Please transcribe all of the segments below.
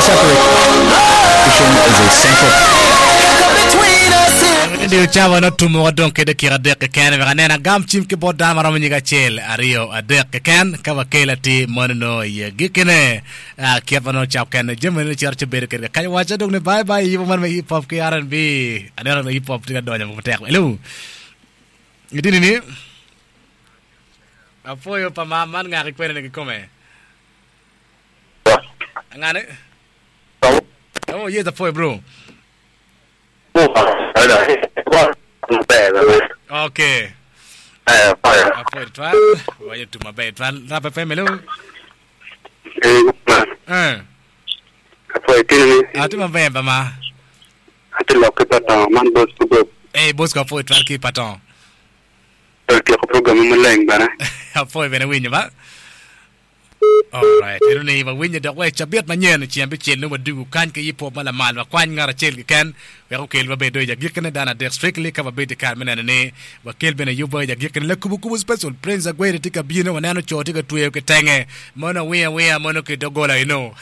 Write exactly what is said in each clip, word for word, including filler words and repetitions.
Separation is a central Diyo cawa no tumo wa dong ki dakika adek keken wek anen agam cim ki bot dano maromo nyig acel aryo adek keken ka wakel atir mono no i agikine. Ah, kit ma nongo cak kene jami ni cito ci bedo kwede kakany waca dong ni bye bye yubo man me hip hop ki R and B. Aneno ni hip hop tye ka donyo matek. Hello, itini ni apwoyo pa ma man ngaki kwene ni kikome ngane. Oh yes, apwoyo bro. Okay, apwoyo twal, wayo tum maber twal. Rap F M, hello. Eh. Atye maber ba ma. Atye lok ki Paton man Bosco Bob. Eh, Bosco, apwoyo twal ki Paton. Otyeko program maleng bene. Apwoyo bene winyo ba. Alright, eno ni wawinyo dok wa i cabit manyen ceng abicel nongo wadugu kany ki hip hop ma lamal. Wakwany ngat acel keken wek okel wabedo i agikine dano adek strictly ka wabedo i kare me neno ni wakel bene yubwa i agikine lakubo kubo special. Prince Agweri tye ka bino, waneno co tye ka tweyo kitenge mono awiya awiya mono ki dogola eno.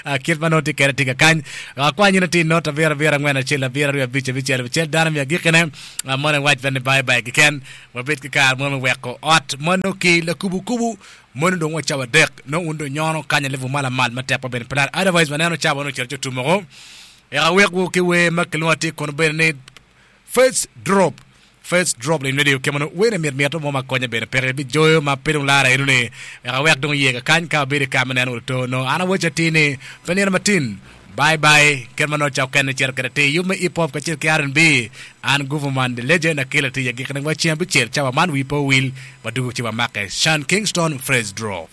Ah, kit ma nongo tye kede tye ka kany akwany in atir not abiro abiro angwen acel abiro aryo abic abicel abicel dano mi agikine. ah, mono iwac bene ni bye bye keken wabed ki kare mo me weko ot mono ki lakubukubu mono dong wa cawa adek nongo un dong nyono kanya level ma lamal matek pa bene pelar. Otherwise waneno cawa nongo ocito ci otum oko. Eka awekwu ki wer ma kilwongo atir kono bene ni First Drop, First Drop lin radio kemo no wene mit mit mo ma konye bene peke bijoyo ma pe dong lara eno ni wek awek dong iye kakany ka wabedo i kare me neno oto no an awaco atir ni pe nino matin. Bye bye, kit ma nongo cako kene cito kwede atir yub me hip hop kacel ki R and B. An Guvuman the Legend akelo atir agikine wa ceng abicel cawa man wi pe owil wadugo ci wamake Sean Kingston, First Drop.